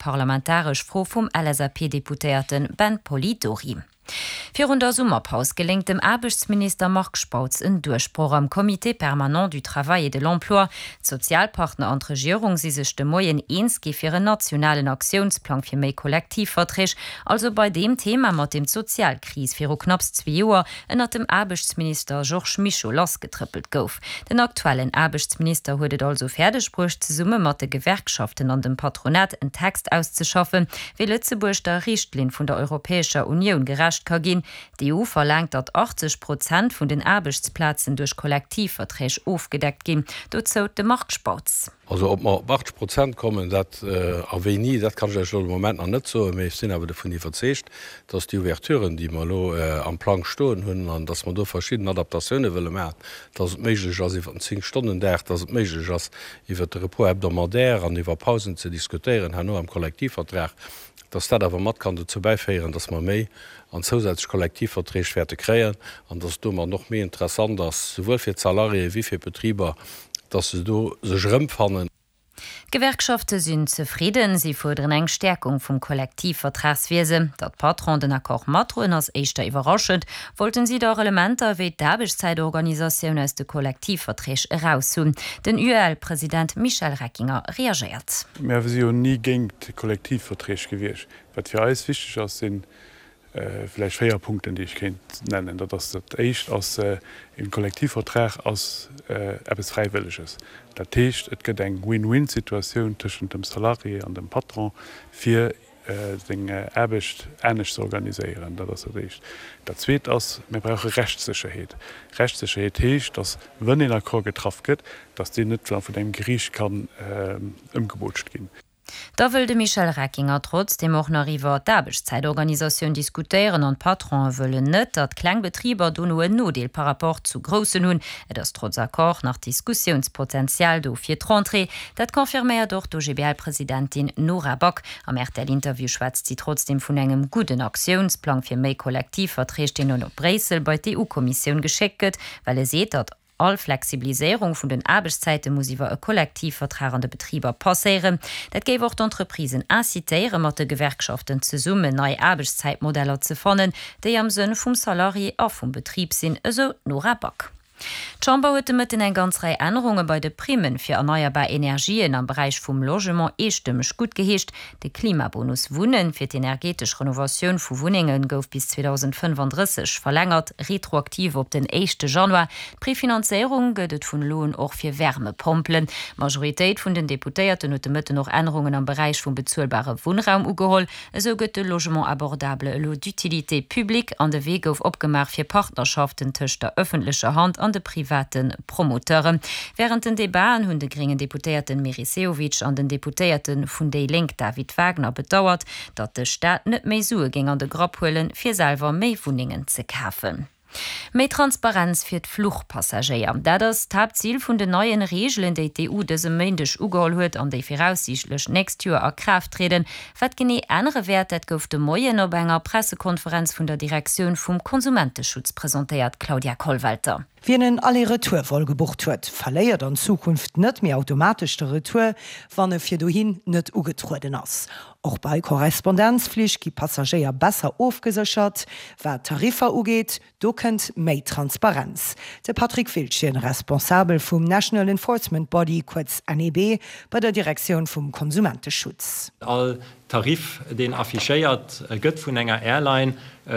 Parlamentaresch Fro vum LSAP-Deputéierte Ben Polidori. Virun der Summerpaus geléngt dem Aarbechtsminister Marc Spautz en Duerchbroch am Comité permanent du travail et de l'emploi. D'Sozialpartner an d'Regierung si sech de Moien eens gi fir en nationalen Aktiounsplang fir méi Kollektivverträg, also bei deem Thema, mat deem d'Sozialkris viru knapps zwee Joer ënnert dem Aarbechtsminister Georges Mischo lassgetrëppelt gouf. Den aktuellen Aarbechtsminister huet et also fäerdeg bruecht, zesumme mat de Gewerkschaften an dem Patronat en Text auszeschaffen, wéi Lëtzebuerg der Richtlinn vun der Europäescher Unioun gerecht ka ginn. D'EU verlaangt, datt 80 Prozent vun den Aarbechtsplazen duerch Kollektivverträg ofgedeckt ginn. Dozou de Marc Spautz. Also ob mer op 80 Prozent kommen, dat a wéini, dat kann ech lech elo de Moment nach net soen, mee ech sinn awer dovun iwwerzeegt, dass déi Ouverturen, déi mer elo am Plang stoen hunn, an dass mer do verschidden Adaptatioune wëlle maachen, dass et méiglech ass iwwert den Zéng-Stonnen-Dag, dass et méiglech ass iwwert de Repos hebdomadaire an iwwer Pausen ze diskutéieren herno am Kollektivvertrag, dass dat awer mat kann dozou bäiféieren, dass mer méi an zousätzlech Kollektivverträg wäerte kréien an dass et domat och méi interessant ass, souwuel fir d'Salariéë wéi fir d'Betriber, dass se do sech erëmfannen. D'Gewerkschafte sinn zefridden. Si fuerderen eng Stäerkung vum Kollektivvertragswiesen. Datt d'Patronen den Accord matdroen, ass éischter iwwerraschend. Wollten si dach Elementer ewéi d'Aarbechtszäitorganisatioun aus de Kollektivverträg eraus hunn. Den UEL-President Michel Reckinger reagéiert. Mir si jo ni géint Kollektivverträg gewiescht. Wat fir eis wichteg ass, sinn Vläicht 4 Punkten, déi ech kéint nennen. Dat ass, dat éischt ass, e Kollektivvertrag ass eppes Fräiwëlleges. Dat heescht, et gëtt eng Win-win-Situatioun tëschent dem Salarié an dem Patron, fir seng Aarbecht anescht ze organiséieren. Dat ass dat éischt. Dat zweet ass, mir brauche Rechtssécherheet. Rechtssécherheet heescht, datt, wënn een Accord getraff gëtt, datt deen net vun engem Geriicht kann ëmgebootscht ginn. Da wëll de Michel Reckinger trotzdeem och nach iwwer d'Aarbechtszäitorganisatioun diskutéieren an d'Patronen wëllen net, datt kleng Betriber dono en Nodeel par rapport zu groussen hunn. Et ass trotz Accord nach Diskussiounspotenzial do fir d'Rentrée. Dat confirméiert och d'OGBL-Presidentin Nora Back. Am RTL-Interview schwätzt si trotzdeem vun engem gudden Aktiounsplang fir méi Kollektivverträg, deen elo op Bréissel bei d'EU-Kommissioun geschéckt gëtt, well e seet, datt All Flexibiliséierung vun den Aarbechtszäite muss iwwer e Kollektivvertrag an de Betriber passéieren. Dat géif och d'Entreprisen incitéieren, mat de Gewerkschaften zesummen nei Aarbechtszäitmodeller ze fannen, déi am Sënn vum Salarié a vum Betrib sinn, esou d'Nora Back. D'Chamber huet de Mëtten eng ganz Rei Ännerunge bei de Primmen fir erneierbar Energien am Beräich vum Logement eestëmmeg guttgeheescht. De Klimabonus Wunnen fir d'energetesch Renovatioun vu Wunnenge gouf bis 2035 verlängert, retroaktiv op den éischte Januar. D'Prefinanzéierung gëtt et vun elo un och fir Wärmepompelen. D'Majoritéit vun den Deputéierten huet de Mëtten och Ännerungen am Beräich vum bezuelbare Wunnraum ugeholl. Esou gëtt de Logement abordable elo d'utilité publique an de Wee gouf opgemaach fir Partnerschaften tëscht der ëffentlecher Hand an de private Promoteuren. Wärend den Debaten hunn de gréngen Deputéierten Meris Sehovic an den Deputéierte vun déi Lénk David Wagner bedauert, datt de Staat net méi Sue géing an de Grapp huelen, fir selwer méi Wunnengen ze kafen. Méi Transparenz fir d'Fluchpassagéier, dat ass d'Haaptzil vun den neien Reegelen, déi d'EU dëse Méindeg ugeholl huet an déi viraussiichtlech d'nächst Joer a Kraaft trieden. Wat genee ännere wäert, dat gouf de Moien op enger Pressekonferenz vun der Direktioun vum Konsumenteschutz presentéiert, Claudia Kollwelter. Wien en Aller-Retour-Vol gebucht huet, verléiert an Zukunft net méi automatesch de Retour, wann e fir dohin net ugetrueden ass. Och bei Korrespondenzflich gi Passagéier besser ofgeséchert. Wat d'Tariffer ugeet, do kënnt méi Transparenz. De Patrick Wildchen, Responsabel vum National Enforcement Body, kuerz NEB, bei der Direktioun vum Konsumenteschutz. All Tarif, deen affichéiert gëtt vun enger Airline,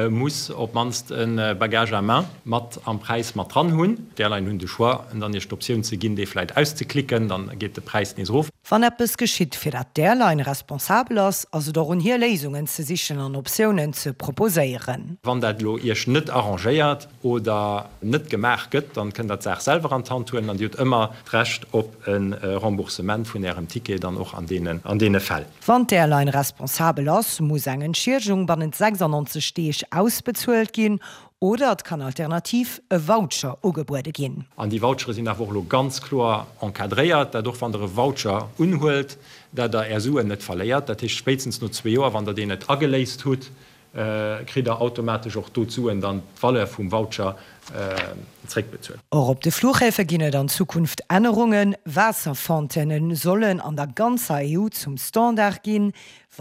muss op d'mannst e Bagage à main mat am Präis mat dran hunn. D'Airline hunn de Choix, dann Iech d'Optioun ze ginn, dee vläit auszeklicken, dann geet de Präis nees erof. Wann eppes geschitt, fir dat d'Airline responsabel ass, ass et och un hir, Léisungen ze sichen an Optiounen ze proposéieren. Wann dat elo Iech net arrangéiert oder net gemaach gëtt, dann kënnt der d'Saach selwer an d'Hand huelen an Dir hutt ëmmer d'Recht op e Remboursement vun Ärem Ticket dann och an deene Fäll. Wann d'Airline responsabel ass, muss eng Entschiedegung bannent 96 Deeg ausbezuelt ginn oder et kann alternativ e Voucher ugebuede ginn. An déi Vouchere sinn awer och elo ganz kloer encadréiert, dat och wann Der e Voucher unhuelt, dat Der Är Suen net verléiert. Dat heescht, spéitstens no zwee Joer, wann Der deen net ageléist hutt, kritt Der automatesch och do d'Suen dann, d'Valeur vum Voucher zréckbezuelt. Och op de Fluchhäfe ginn et an Zukunft Ännerungen. Waasserfontaine sollen an der ganzer EU zum Standard ginn.